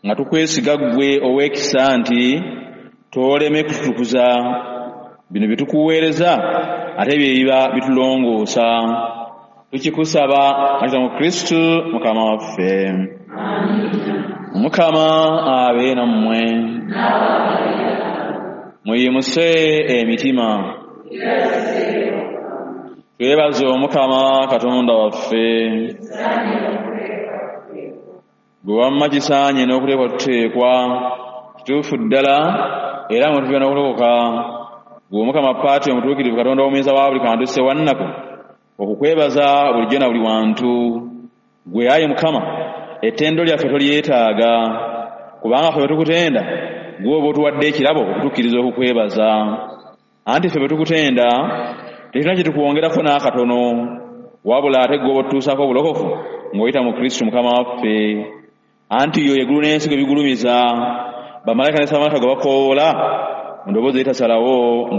Nga tukwesiga ggwe ow'ekisa nti tooleme kututukuza bino bye tukuweereza ate bye biba bitulongoosa. Tukikusaba nga mu Kristu Mukama waffe. Mukama abe nammwe. Muyimuse emitima. Twebaze Omukama Katonda waffe. Gwe wamma kisaanye n'okuteekwa tuteekwa kituufu ddala era mwe tuva n'okulokoka. Gwe Omukama Paati omutuukirivu Katonda omuyinza wa buli kantu Ssewannaku okukwebaza bulijjo na buli wantu. Gwe ayi Mukama ettendo lyaffe tolyetaaga kubanga ffe bwe tukutenda gwe oba otuwadde ekirabo okutukkiriza okukwebaza. Anti ffe bwe tukutenda tetulina kye tukwongerako n'akatono wabula ate gwe oba otutuusaako obulokofu ng'oyita mu Kristu Mukama waffe. Anti yo eggulu n'ensi gwe bigulumiza bamalayika ne samalayika gwe bakoowoola mu ddoboozi eritasalawo.